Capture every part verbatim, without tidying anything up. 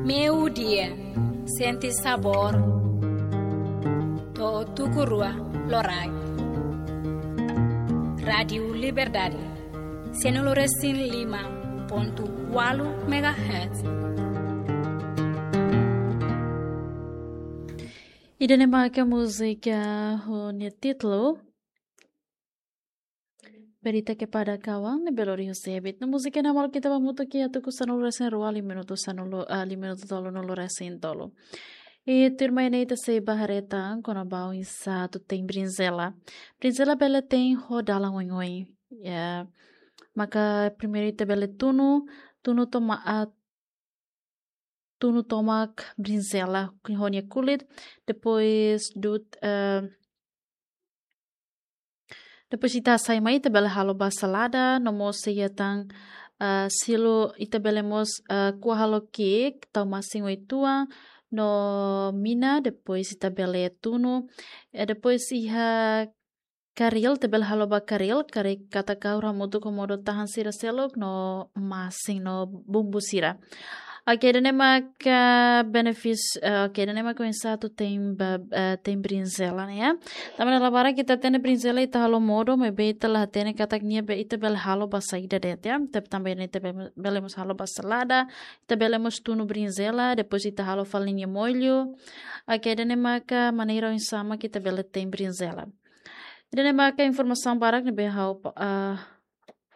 Meio-dia, sente sabor. To'o tuku rua loraik. Rádio Liberdade, sanulu-resin-lima pontu ualu megahertz. Ida-ne'e maka múzika ho nia títulu Berita Kepada Kawan, ne'ebé lori husi Ebit. No múzika ne'e malu ita ba hamutuk iha tuku sanulu-resin-rua liu minutu sanulu, ah, liu minutu tolunulu-resin-tolu. I tuirmai ne'e ita sei bá haree tan kona-ba oinsá atu tein brinzela. Brinzela bele tein ho dalan oioin. Ya, maka primeiru ita bele tunu, tunu toma-, ah, tunu tomak brinzela ho nia kulit, depois dut, eh, depois ita hasai mai, ita bele halo ba salada, no mós iha tan, eh, silu ita bele mós, eh, ko'a halo ki'ik, tau masin uitoan, no mina, depois ita bele tunu, eh, depois iha karil, ita bele halo ba karil, karik katak ha'u hamutuk ho modo-tahan sira seluk no masin no bumbu sira. Oke, ida-ne'e maka benefis-, eh, oke, ida-ne'e maka oinsá atu tein ba, eh, tein brinzela ne'e, ya. Tanba dala barak ita hatene brinzela ita halo modo, maibé ita la hatene katak nia be ita bele halo ba saida de'it, ya. Ita tanba ne'e ita be-, bele mós halo ba salada, ita bele mós tunu brinzela, depois ita halo fali nia molho. Oke, ida-ne'e maka maneira oinsá mak ita bele tein brinzela. Ida-ne'e maka informasaun barak ne'ebé ha'u, ah,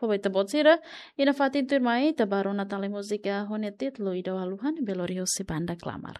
fó ba ita-boot sira. I nafatin tuirmai ita bá rona tan lai múzika ho nia títulu Ida Haluha ne'ebé lori husi banda Klamar.